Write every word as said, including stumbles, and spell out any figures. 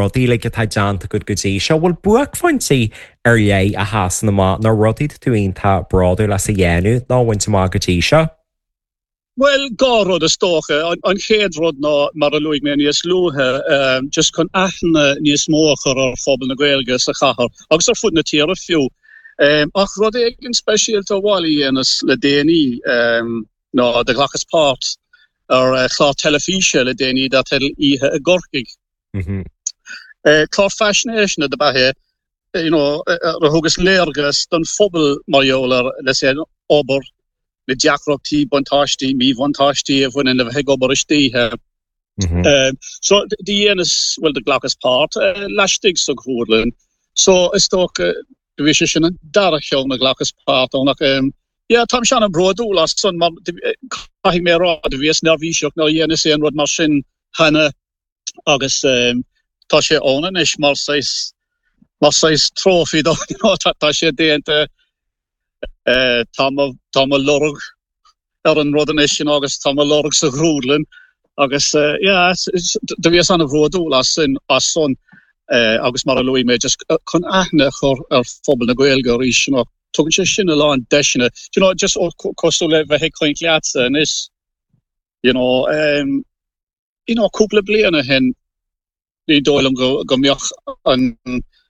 Rudaí like atá déanta agat go dtí seo bhfuil buaicphointí ar leith a sheasann amach nó rudaí tú iontach bródúil as a dhéanamh nó bhaint amach go dtí seo? Well dhá rud is dócha an chéad rud ná mar a luaigh mé níos luaithe um, just chun aithne níos mó a chur ar phobal na Gaeilge sa chathair agus ar fud na tíre fiú. Um, ach rud éigin speisialta amháin a dhéanas le déanaí um, ná do ghlacas páirt ar uh, chlár teilifíse le déanaí dar teideal Oíche i gCorcaigh. Mm -hmm. Uh, clár faisnéise do ba ea you know, uh, thugas léargas don phobal mar gheall ar le sé obair na deacrachtaí buntáistí míbhuntáistí a bhaineann le bheith ag obair istoíche. Mm -hmm. Um, so do dhéanas well do ghlacas páirt uh, laistigh sa ghrúdlann. So is dócha do bhí sé sin an dara ceann a ghlacas páirt ann ach um, yeah, táim an-bhródúil as san mar caithfidh mé rá do bhíos neirbhíseach nuair a dhéanas aon rud mar sin cheana agus um, tá sé ann anois mar saghas mar saghas trophy do tá sé déanta uh, tá tá mo lorg ar an rud anois sin agus tá mo lorg sa ghrúdlann agus uh, yeah, do bhíos an-bhródúil as sin as san uh, agus mar a luaigh mé just chun aithne a chur ar phobal na Gaeilge arís you know, tugann sé sin a lán deiseanna you know, just cosúil le bheith ag caint leatsa anois you know, um, you know, cúpla bliain ó shin ní dóigh liom go go mbeadh an